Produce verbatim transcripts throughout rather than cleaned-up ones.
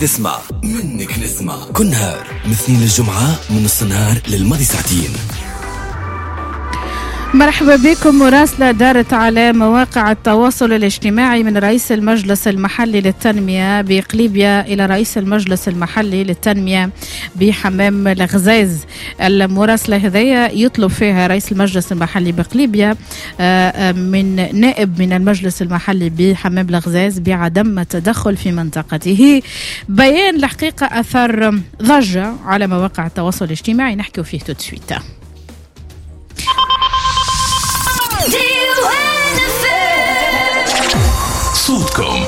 تسمع منك نسمع كل نهار من اثنين للجمعة من نص النهار للماضي ساعتين. مرحبا بكم. مراسلة دارت على مواقع التواصل الاجتماعي من رئيس المجلس المحلي للتنمية بقليبيا إلى رئيس المجلس المحلي للتنمية بحمام الغزاز. المراسلة هذيا يطلب فيها رئيس المجلس المحلي بقليبيا من نائب من المجلس المحلي بحمام الغزاز بعدم التدخل في منطقته. بيان الحقيقة أثر ضجة على مواقع التواصل الاجتماعي، نحكي فيه tout de suite. صوتكم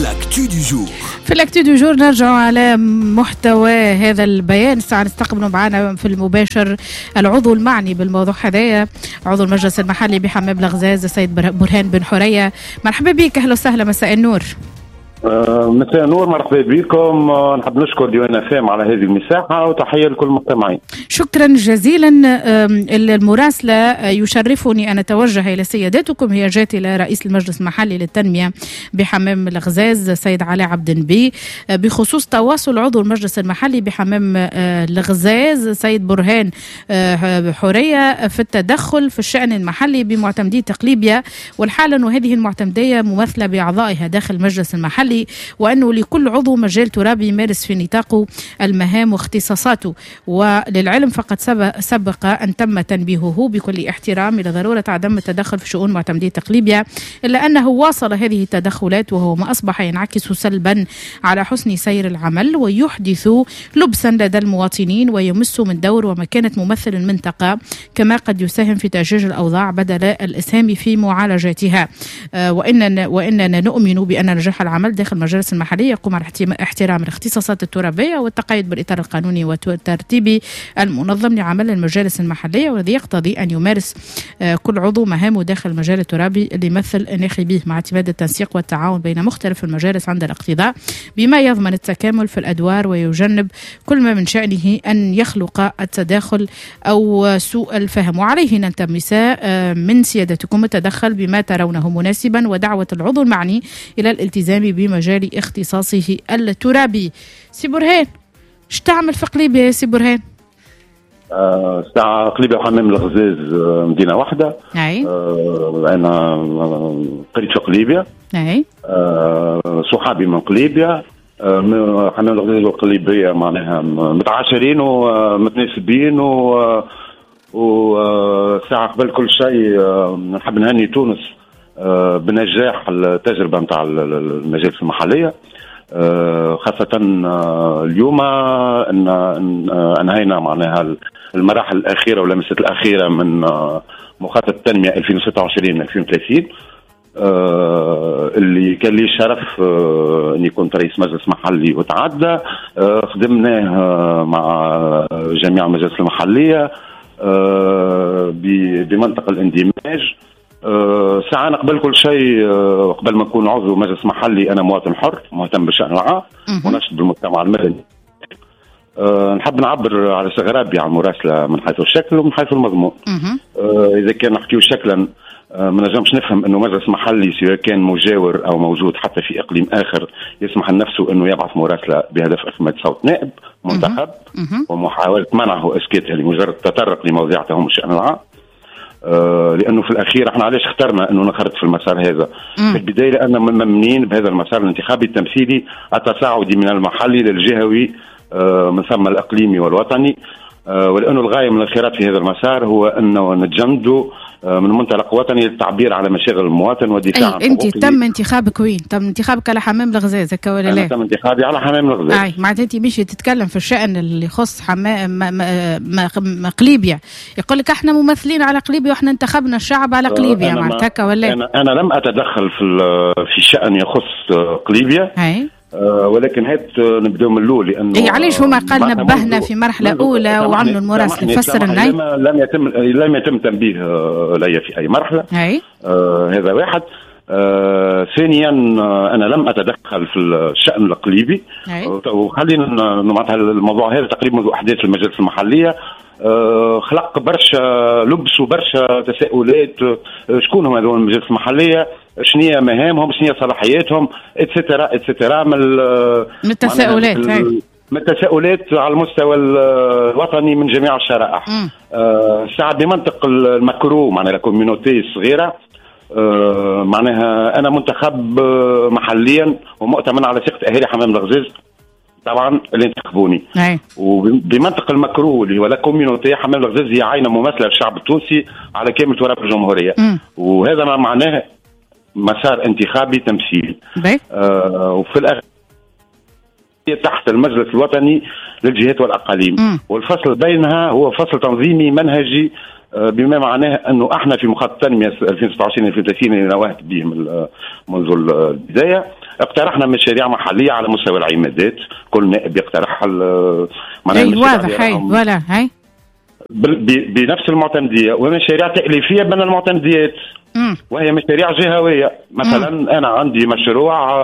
l'actu du jour. في l'actu du jour نرجع على محتوى هذا البيان. ساعة نستقبل معنا في المباشر العضو المعني بالموضوع هذايا، عضو المجلس المحلي بحمام الغزاز السيد برهان بن حرية. مرحبا بك، اهلا وسهلا، مساء النور. مساء النور، مرحبا بكم. نحب نشكر ديوان فام على هذه المساحة وتحية لكل المستمعين. شكرا جزيلا. المراسلة يشرفني أن أتوجه إلى سيادتكم، هي جات إلى رئيس المجلس المحلي للتنمية بحمام الغزاز السيد علاء عبد النبي بخصوص تواصل عضو المجلس المحلي بحمام الغزاز السيد برهان حرية في التدخل في الشأن المحلي بمعتمدية قليبيا، والحالة أن هذه المعتمدية ممثلة بأعضائها داخل المجلس المحلي، وأنه لكل عضو مجال ترابي يمارس في نطاقه المهام واختصاصاته. وللعلم فقد سبق أن تم تنبيهه بكل احترام إلى ضرورة عدم التدخل في شؤون معتمدية قليبيا، إلا أنه واصل هذه التدخلات وهو ما أصبح ينعكس سلبا على حسن سير العمل ويحدث لبسا لدى المواطنين ويمس من دور ومكانة ممثل المنطقة، كما قد يساهم في تأجيج الأوضاع بدل الإسهام في معالجتها. وإننا, وإننا نؤمن بأن نجاح العمل داخل المجالس المحلية يقوم على احترام الاختصاصات الترابية والتقيد بالإطار القانوني والترتيبي المنظم لعمل المجالس المحلية، والذي يقتضي أن يمارس كل عضو مهامه داخل المجال الترابي اللي يمثل ناخبيه، مع اعتماد التنسيق والتعاون بين مختلف المجالس عند الاقتضاء، بما يضمن التكامل في الأدوار ويجنب كل ما من شأنه أن يخلق التداخل أو سوء الفهم. وعليه نلتمس من سيادتكم التدخل بما ترونه مناسبا ودعوة العضو المعني إلى الالتزام بمجال اختصاصه الترابي. سي برهان، اش تعمل في قليبيا يا سي برهان؟ آه، ساعة قليبيا وحمام الغزاز مدينة واحدة. أي. آه، أنا قريت في قليبيا. أي. آه، صحابي من قليبيا. آه، حمام الغزاز وقليبيا معناها متعاشرين ومتناسبين و وساعة قبل كل شيء نحب نهني تونس بنجاح التجربة متاع المجالس المحلية، خاصة اليوم أن أنهينا معناها المراحل الأخيرة واللمسات الأخيرة من مخطط التنمية ألفين وستة وعشرين ألفين وثلاثين، اللي كان لي الشرف أني كنت رئيس مجلس محلي وتعدى خدمناه مع جميع المجالس المحلية بمنطق الاندماج. أه ساعة أنا قبل كل شيء، أه قبل ما أكون عضو مجلس محلي أنا مواطن حر مهتم بالشأن العام ونشط بالمجتمع المدني. أه نحب نعبر على استغرابي على المراسلة من حيث الشكل ومن حيث المضمون. أه إذا كان نحكيو شكلا، أه ما نجمش نفهم أنه مجلس محلي سواء كان مجاور أو موجود حتى في إقليم آخر يسمح لنفسه أنه يبعث مراسلة بهدف إخماد صوت نائب منتخب ومحاولة منعه إسكاته لمجرد التطرق لمواضيع تهم الشأن العام. آه لأنه في الأخير احنا علاش اخترنا أنه نخرط في المسار هذا؟ مم. في البداية لأننا ممنين بهذا المسار الانتخابي التمثيلي التصاعدي من المحلي للجهوي، آه من ثم الإقليمي والوطني، آه ولأنه الغاية من الانخراط في هذا المسار هو أنه نتجندوا آه من منطلق وطني للتعبير على مشاغل المواطن والدفاع عن حقوقه. أنت تم انتخابك وين؟ تم انتخابك على حمام الغزاز هكا ولا لا؟ تم انتخابي على حمام الغزاز. أي معناتها أنت مش تتكلم في الشأن اللي يخص حمام قليبيا، يقول لك احنا ممثلين على قليبيا واحنا انتخبنا الشعب على قليبيا، معناتها هكا ولا؟ أنا, أنا لم أتدخل في في شأن يخص قليبيا. أي. أه ولكن هات نبداو من الاول لانه إيه علاش هما قال نبهنا في مرحلة اولى وعملوا المراسله؟ فسر لنا. لم يتم لم يتم تنبيه لي في اي مرحلة. أي. آه هذا واحد. آه ثانيا انا لم اتدخل في الشان القليبي، وخلينا معناتها الموضوع هذا تقريبا منذ احداث المجالس المحلية آه خلق برشا لبس وبرشا تساؤلات. آه شكون هم هذول المجالس المحلية؟ شنو مهامهم، شنو صلاحياتهم، et cetera et cetera من من التساؤلات من التساؤلات على المستوى الوطني من جميع الشرائح. الساعة آه بمنطق ال macro معناها la communauté الصغيرة، آه معناها انا منتخب محليا ومؤتمن على ثقة اهالي حمام الغزاز طبعا اللي انتخبوني. وبمنطق ال macro اللي هو la communauté، حمام الغزاز هي عينه ممثلة للشعب التونسي على كامل تراب الجمهورية. م. وهذا ما معناه مسار انتخابي تمثيلي. آه وفي الاخير تحت المجلس الوطني للجهات والاقاليم. م. والفصل بينها هو فصل تنظيمي منهجي، بما معناه انه احنا في مخطط التنمية ألفين وستة وعشرين ألفين وثلاثين اللي نوهت به منذ البداية اقترحنا مشاريع محليه على مستوى العمادات، كل نائب يقترح معناها واضح هاي voilà هاي بنفس المعتمديه، ومشاريع تاليفيه بين المعتمديات وهي مشاريع جهويه. مثلا مم. انا عندي مشروع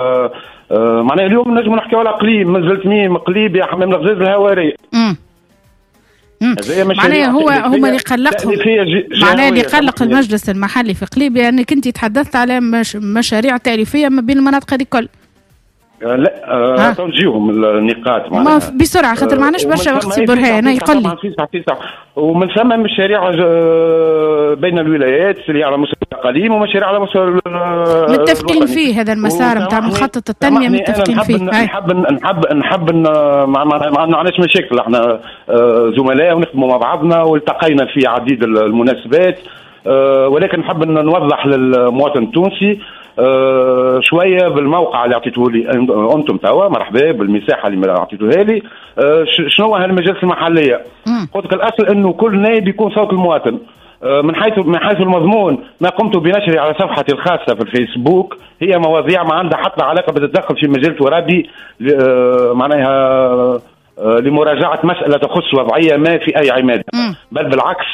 معناها اليوم نجم نحكيو على قليب، منزلت ميم قليب يا حمام الغزاز الهواري. معناها هو هما اللي قلقهم، معناها اللي قلق المجلس المحلي في قليبية انك انت تحدثت على مش مشاريع تأليفية ما بين المناطق هذه الكل. لا آه تنجيهم النقاط معناها بسرعة خاطر ما عندناش برشا وقت سي برهان يقول لي. ومن ثم مشاريع بين الولايات اللي على مستوى الاقاليم ومشاريع على مستوى متفقين فيه هذا المسار نتاع مخطط التنمية متفقين فيه. نحب نحب نحب ما عندناش مشاكل، احنا زملاء ونخدموا مع بعضنا والتقينا في عديد المناسبات، ولكن نحب نوضح للمواطن التونسي أه شوية بالموقع اللي اعطيته لي انتم توا، مرحبا بالمساحه اللي اعطيتوها لي. أه شنو هو هالمجالس المحلية؟ قلت لك الاصل انه كل نائب يكون صوت المواطن. أه من حيث من حيث المضمون ما قمت بنشره على صفحتي الخاصة في الفيسبوك هي مواضيع ما عندها حتى علاقة بالتدخل في مجال ترابي، أه معناها أه لمراجعه مسالة تخص وضعية ما في اي عماده، بل بالعكس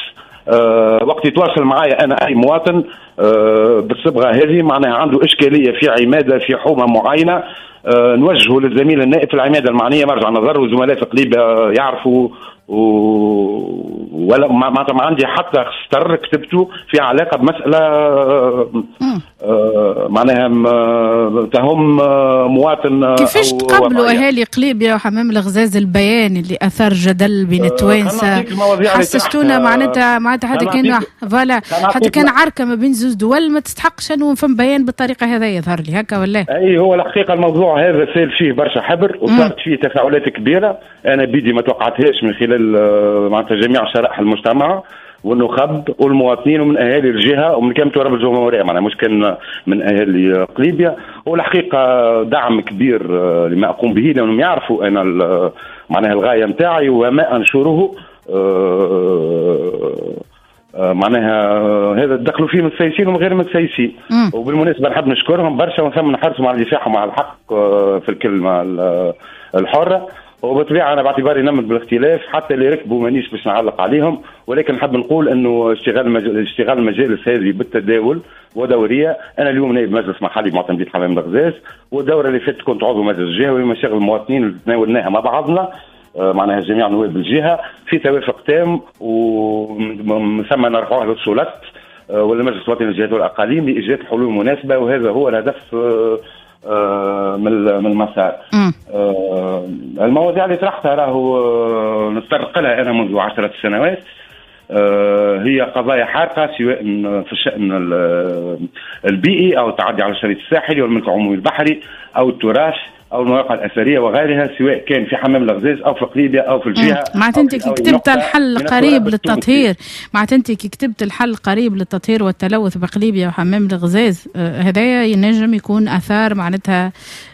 أه وقت يتواصل معايا انا اي مواطن أه بالصبغه هذه معناها عنده اشكالية في عماده في حومه معينة، أه نوجهه للزميل النائب في العماده المعنية مرجع نظر، وزملاء في قليبه يعرفوا و... ولا معناتها ما عندي حتى سطر كتبته في علاقة بمسالة أه معناها تهم مواطن. كيفاش تقبلوا اهالي قليبية وحمام الغزاز البيان اللي اثار جدل بين التوانسة؟ حسستونا معناتها معناتها حتى كان voilà حتى كان عركة ما بين زوج دول ما تستحقش انه فم بيان بالطريقة هذا يظهر لي هكا ولا؟ اي هو الحقيقة الموضوع هذا سال فيه برشا حبر وصارت فيه تفاعلات كبيرة، انا بيدي ما توقعتهاش من خلال معناتها جميع شرائح المجتمع والنخب والمواطنين ومن اهالي الجهة ومن كامل تراب الجمهورية، معناها مش كان من اهالي قليبيا. والحقيقة دعم كبير لما اقوم به لانهم يعرفوا انا معناها الغاية نتاعي وما انشره، معناها هذا دخلوا فيه متسيسين وغير متسيسين. وبالمناسبة نحب نشكرهم برشا ونثم نحرصهم على دفاعهم على الحق في الكلمة الحرة. وبالطبيعه انا باعتباري نمت بالاختلاف حتى اللي ركبوا مانيش باش نعلق عليهم، ولكن نحب نقول انه اشتغال مج... اشتغال المجالس هذه بالتداول ودوريه. انا اليوم نائب مجلس محلي بمعتمدية حمام الغزاز، والدوره اللي فاتت كنت عضو مجلس جهوي، مشاغل المواطنين اللي تناولناها مع بعضنا معناها جميع نواب الجهة في توافق تام، ومن ثم نرفعوها للسلطات والمجلس الوطني للجهات والاقاليم لايجاد حلول مناسبة، وهذا هو الهدف من المسار. المواضيع اللي طرحتها راهو نتطرق لها انا منذ عشرة سنوات، هي قضايا حارقه سواء في الشأن البيئي او التعدي على الشريط الساحلي والملك العمومي البحري او التراث او المواقع الاثرية وغيرها، سواء كان في حمام الغزاز او في قليبيا او في الجهة. معناتها انت كي كتبت الحل قريب للتطهير، معناتها انت كي كتبت الحل قريب للتطهير والتلوث بقليبيا وحمام الغزاز، هذايا ينجم يكون اثار معناتها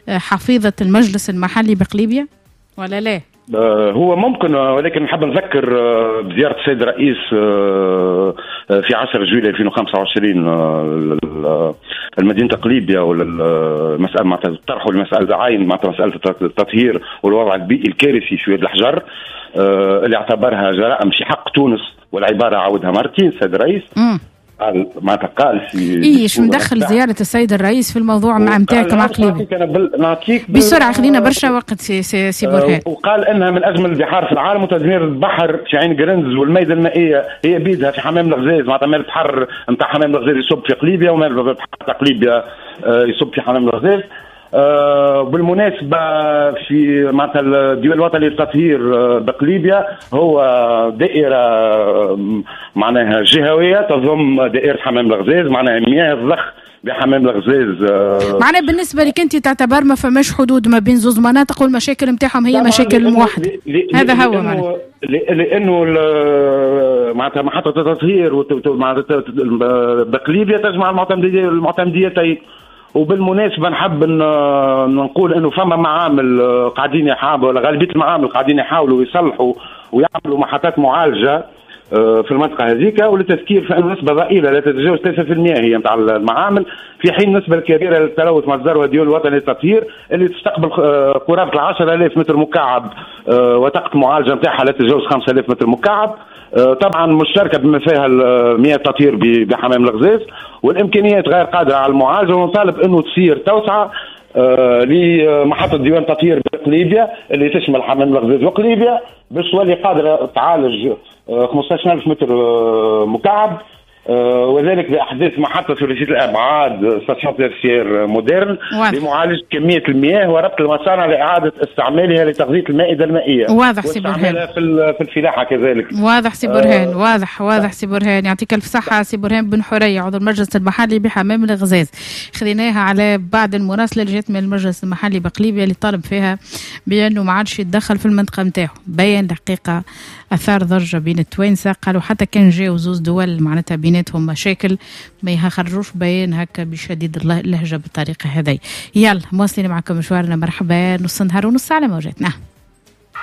حفيظة المجلس المحلي بقليبيا ولا لا؟ هو ممكن، ولكن نحب نذكر بزيارة السيد الرئيس في عشرة جويلية ألفين وخمسة وعشرين المدينة قليبيا، والمسألة معناتها طرحوا المسألة عين معناتها مسألة التطهير والوضع البيئي الكارثي في واد الحجر اللي اعتبرها جرائم في حق تونس، والعبارة عاودها مرتين السيد الرئيس. قال معناتها قال في اي شو مدخل زيارة السيد الرئيس في الموضوع مع نتاعك مع قليبيا؟ انا بال... نعطيك بال... بسرعة خلينا برشا وقت سي سي, سي برهان. وقال انها من اجمل البحار في العالم، وتدمير البحر في عين قرنز والميدة المائية هي بيدها في حمام الغزاز، معناتها ماء البحر نتاع حمام الغزاز يصب في قليبيا وماء البحر تاع قليبيا يصب في حمام الغزاز. آه بالمناسبة في معناتها الديوان الوطني للتطهير بقليبيا هو دائرة معناها جهوية تضم دائرة حمام الغزاز، معناها مياه الضخ بحمام الغزاز. آه معناها بالنسبة لك أنت تعتبر ما فماش حدود ما بين زوز مناطق والمشاكل نتاعهم هي مشاكل موحدة، هذا هو معناها لأنه معناتها محطة التطهير بقليبيا تجمع المعتمدية المعتمديتين. وبالمناسبة نحب نقول انه فما معامل قاعدين يحاولوا، ولا غالبية المعامل قاعدين يحاولوا يصلحوا ويعملوا محطات معالجة في المنطقة هذيك، وللتذكير فان نسبه ضئيلة لا تتجاوز ثلاثة بالمئة هي نتاع المعامل، في حين النسبة الكبيرة للتلوث مصدرها الديوان الوطني للتطهير اللي تستقبل قرابة عشرة آلاف متر مكعب وطاقة المعالجة نتاعها لا تتجاوز خمسة آلاف متر مكعب، طبعا مشتركة بما فيها مياه التطهير بحمام الغزاز، والامكانيات غير قادرة على المعالجة، ونطالب انه تصير توسعه لمحطه ديوان تطهير بقليبيا اللي تشمل حمام الغزاز وقليبيا باش تولي قادرة تعالج خمسة عشر ألف متر مكعب، وذلك باحداث محطة ثلاثية الابعاد station tertiaire moderne لمعالجة كمية المياه وربط المصانع لاعادة استعمالها لتغذيه المائدة المائية. واضح سي برهان، في في الفلاحة كذلك. واضح سي برهان، آه واضح واضح سي برهان، يعطيك الف صحة سي برهان بن حرية عضو المجلس المحلي بحمام الغزاز. خذيناها على بعد المراسله اللي جات من المجلس المحلي بقليبيا اللي طالب فيها بانه ما عادش يتدخل في المنطقة نتاعو. بيان الحقيقة اثار ضجه بين التوانسة، قالوا حتى كان جاو زوز دول معناتها بيناتهم مشاكل ما يخرجوش بيان هكا بشديد اللهجة بالطريقة هذه. يلا مواصلين معكم مشوارنا، مرحبا نص نهار ونص على موجاتنا.